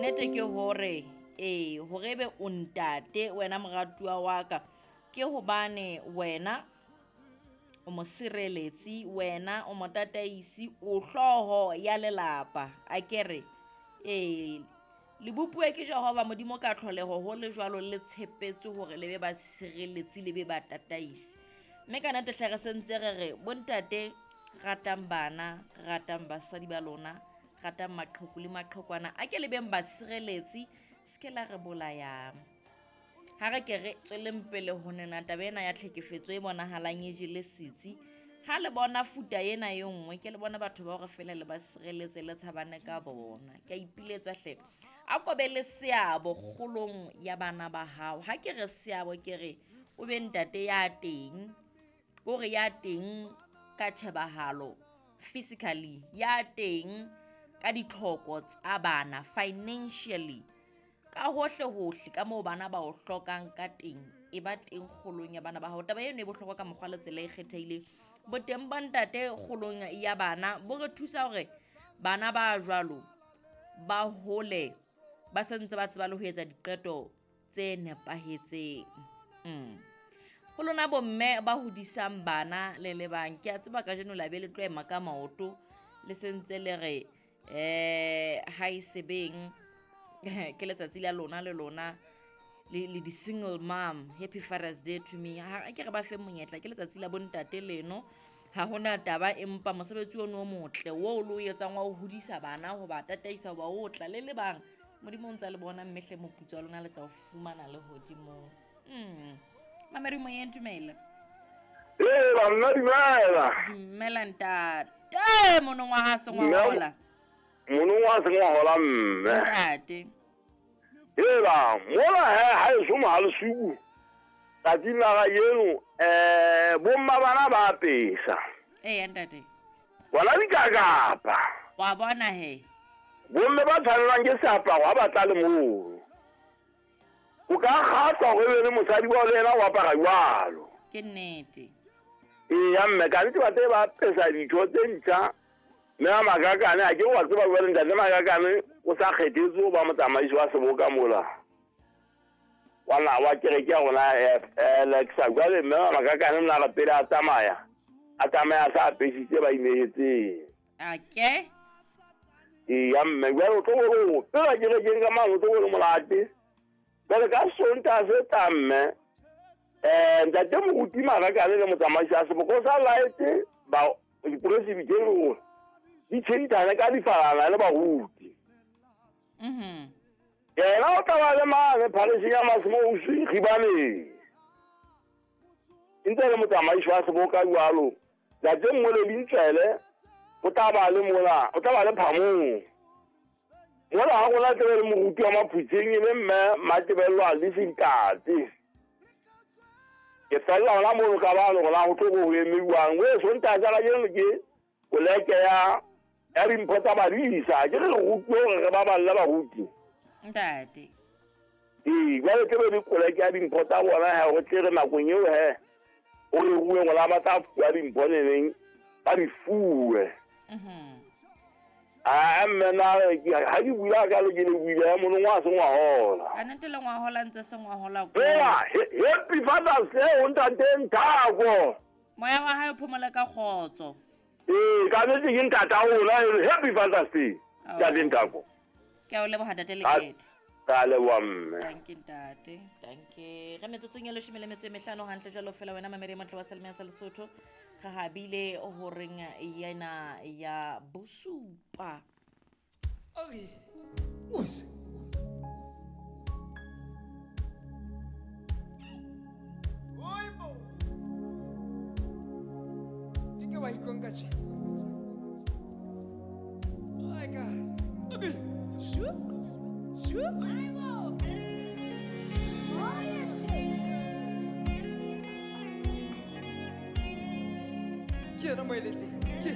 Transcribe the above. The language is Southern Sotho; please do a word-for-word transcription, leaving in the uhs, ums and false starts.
Nnete ke hore ee, hore ebe o ntate wena moratuwa wa ka, ke hobane wena o mosireletsi, wena o motataisi, o hlooho ya lelapa. Akere ee, le bopuwe ke Jehova Modimo ka tlholeho ho le jwalo le tshepetswe hore le be basireletsi, le be batataisi. Mme ka nnete hle re sentse re re bontate ratang bana, ratang basadi ba lona, ratang maqheku le maqhekwana, a ke le beng basireletsi, se ke la re bolayang. Ha re ke re tsweleng pele ho nena taba ena ya tlhekefetso e bonahalang e jele setsi. Ha le bona futa ena e nngwe, ke le bona batho ba hore feela le ba sireletse le tshabane ka bona. Ke a ipiletsa hle. A ko be le seabo kgolong ya bana ba hao. Ha ke re seabo ke re o be ntate ya teng, kore ya teng ka tjhebahalo physically, ya teng ka ditlhoko tsa bana financially, ka hohle hohle ka moo bana ba o hlokang ka teng, e ba teng kgolong ya bana ba hao. Taba eno e bohlokwa ka mokgwa le tsela e kgethehileng. Boteng ba ntate kgolong ya bana bo re thusa hore bana ba jwalo ba hole ba sentse ba tseba le ho etsa diqeto tse nepahetseng. Mm. Ho lona bomme ba hodisang bana le le bang, ke a tseba kajeno la be le tlo ema ka maoto le sentse le re eh ha e sebeng ke letsatsi la lona le lona le le di-single mom, happy Father's Day to me. Ha ke re ba fe monyetla, ke letsatsi la bontate leno, ha hona taba, empa mosebetsi ono o motle oo le o etsang wa ho hodisa bana, ho ba tataisa, ho ba otla le le bang, Modimo o ntsa le bona, mme hle moputso wa lona le tla o fumana le hodimong. Mm. Mamedi moyeng, dumela. Ee, banna dumela. Dumela ntate, monongwaha sengwahola. Monongwaha sengwahola mme. Ntate. Ela, mola he ha eso mohalesuku. Tsatsing la kajeno, eh bomma bana ba apesa. Ee ntate. Bona dikakapa. Wa bona he. Bomme ba tshwanelwang ke seaparo ha ba tla le moo. O ka kgahlwa hore ebe le mosadi wa le yena o apara jwalo. Ke nnete. Eya mme, ka nnete ba tse ba apesa ditho tse ntjha. Mme a Makakane, ha ke wa tseba jwale ntate Makakane o sa kgethetswe ho ba motsamaisi wa seboka mola. Wa na wa kereke ya rona Alexa. Jwale mme wa Makakane mna re pele a tsamaya, a tsamaya a sa apesitse ba inehetseng. Okay. Eya mme, jwale o tlo bone o pela kerekeng ka mane, o tlo bone monate. Jwale ka Sontaha se tlang mme, eh ntate moruti Makakane le motsamaisi wa seboka o sa laetse ba dipresibiteri hore di tjhentjhane ka difalana le baruti. Mhm. Yena o tla ba le mane phariseng ya Masimousi Gibaneng. E ntse le motsamaisi wa seboka jwalo. Ntate Mmoledi Ntswele o tla ba le mola, o tla ba le phamong. Mola ha rona tlabe le moruti wa Maphutseng e le mme Matebello a le Sentate. Ke fella hona mono ka bano hore na ho tlo bo ho emeuwang. O e Sontaha sa kajeno ke koleke ya ya dimpho tsa badisa. Ke re re rutuwe hore re baballe baruti. Ntate. Ee, jwale tlabe le koleke ya dimpho tsa bona he, hore tle re nakong eo he, o re ruwe ngwana ba tla fuwa dimpho neneng, ba di fuwe. Mhm. Ah, mme na ha ke bula ka le ke le buile ya monongwaha sengwahola. Ka nnete le ngwahola ntse sengwahola ko. Eya, happy Father's Day ho ntate Nthako. Moya wa hae o phomole ka kgotso. Ee, ka nnete ke ntata rona, happy Father's Day. Ntate Nthako. Ke a o leboha ntate Lekete. Ka leboha mme. Thank you ntate. Thank you. Re metsotsong ya leshome le metso e mehlano hantle jwalo fela wena mamedi motle wa Selemo sa Lesotho. Re habile horeng yena ya bosupa. Okay. Us. Oibo. Dike wa ikonka tje. My God. Okay. Shu. Shu. Oibo. Oh, yes. Ke yena moeletsi. Ke